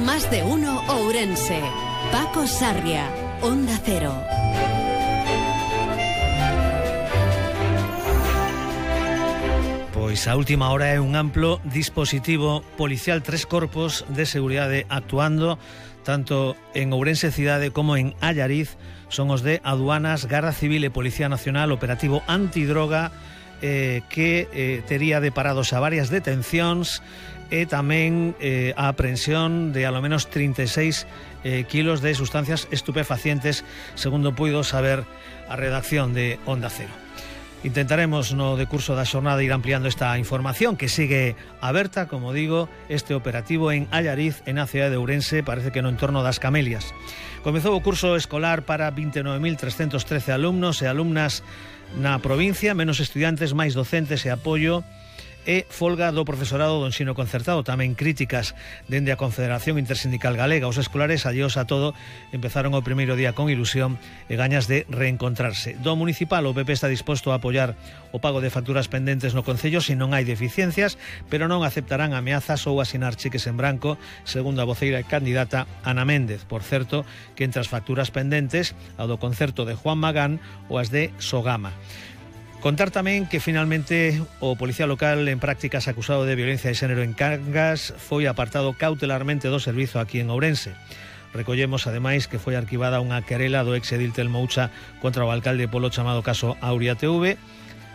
Más de uno Ourense. Paco Sarria, Onda Cero. Pois a última hora é un amplo dispositivo policial, 3 corpos de seguridade actuando tanto en Ourense cidade como en Allariz. Son os de Aduanas, Garda Civil e Policía Nacional, operativo antidroga que tería deparados a varias detencións e tamén a aprehensión de alo menos 36 kilos de sustancias estupefacientes, segundo puido saber a redacción de Onda Cero. Intentaremos no decurso da xornada ir ampliando esta información que sigue aberta, como digo, este operativo en Allariz, en a cidade de Ourense, parece que no entorno das Camelias. Comezou o curso escolar para 29.313 alumnos e alumnas na provincia, menos estudiantes, máis docentes e apoio, e folga do profesorado do ensino concertado. Tamén críticas dende a Confederación Intersindical Galega. Os escolares, alleos a todo, empezaron o primeiro día con ilusión e gañas de reencontrarse. Do municipal, o PP está disposto a apoiar o pago de facturas pendentes no Concello se non hai deficiencias, pero non aceptarán ameazas ou asinar cheques en branco, segundo a voceira e candidata Ana Méndez. Por certo, que entre as facturas pendentes, a do concerto de Juan Magán ou as de Sogama. Contar tamén que finalmente o policía local en prácticas acusado de violencia de xénero en Cangas foi apartado cautelarmente do servizo aquí en Ourense. Recollemos ademais que foi arquivada unha querela do exedil Telmoucha contra o alcalde polo chamado caso Auria TV.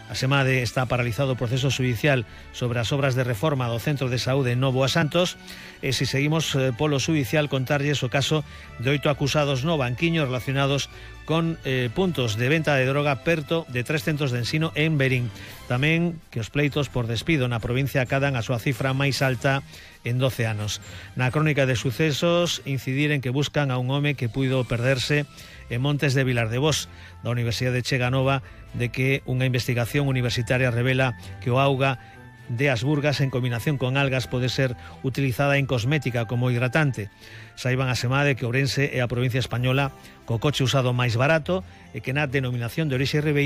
A Semade está paralizado o proceso judicial sobre as obras de reforma do Centro de Saúde Novo a Santos e se seguimos polo judicial contarlles o caso de 8 acusados no banquiño relacionados con puntos de venta de droga perto de 3 centros de ensino en Verín. Tamén que os pleitos por despido na provincia acadan a súa cifra máis alta en 12 anos. Na crónica de sucesos, incidir en que buscan a un home que puido perderse en Montes de Vilar de Vos, da Universidade de Cheganova, de que unha investigación universitaria revela que o auga de Asburgas en combinación con algas pode ser utilizada en cosmética como hidratante. Saiban a Semade que Ourense é a provincia española co coche usado máis barato e que na denominación de orixe ribeira